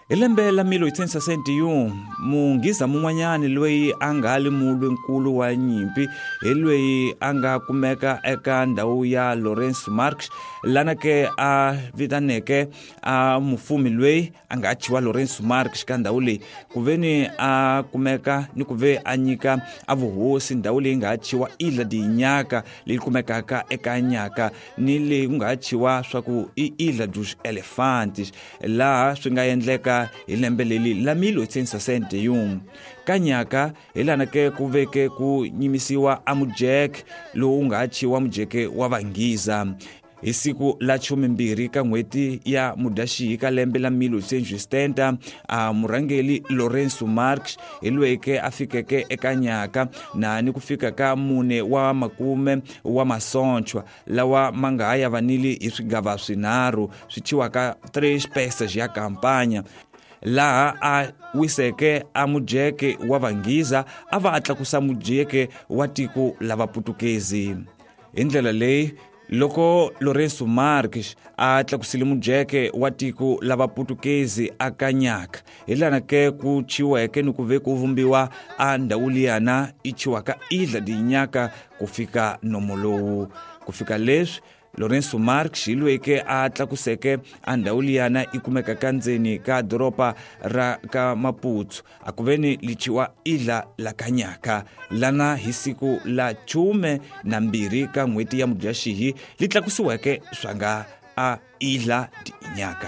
Hi lembe la 1861 munghiza mun'wanyani loyi a nga li mulwinkulu wa nyimpi hi loyi a nga kumeka eka ndhawu ya Lourenço Marques, lana ke a vitaneke a mufumi loyi a nga chiwa Lourenço Marques ka ndhawu leyi ku ve ni a kumeka ni ku ve a nyika a vuhosi ndhawu leyi nga chiwa Ilha de Inhaca leyi kumekaka eka Nyaka, ni leyi ku nga chiwa swa ku i Ilha dos Elefantes, laha swi nga endleka hi lembe leli la 1861. Ka Nyaka hi lana ke ku veke ku nyimisiwa a mujeke lowu nga chiwa mujeke wa Vanghiza. Hi siku la 12 ka n'hweti ya Mudyaxihi ka lembe la 1870, a murhangeli Lourenço Marques hi loyi a fikeke eka Nyaka na ni ku fika ka 4 wa makume wa masochwa lawa ma nga ha yavanile hi swigava swinharhu swi chiwaka 3 peças ya kampanya, laha a wiseke a mujeke wa Vanghiza a va a tlakusa mujeke wa tiko la Vaputukezi. Hi ndlela leyi loko Lourenço Marques a tlakusile mujeke wa tiko la Vaputukezi aka Nyaka, hi lana ke ku chiweke ni ku ve ku vumbiwa a ndhawu liyana i chiwaka Ilha de Inhaca ku fika nomo lowu. Ku fika leswi Lourenço Marques hi loyi ke a tlakuseke a ndhawu liyana i kumeka ka ndzeni ka doroba ra ka Maputo, a ku ve ni lichiwa Ilha la ka Nyaka, lana hi siku la 12 ka n'hweti ya Mudyaxihi li tlakusiweke swa nga a Ilha de Inhaca.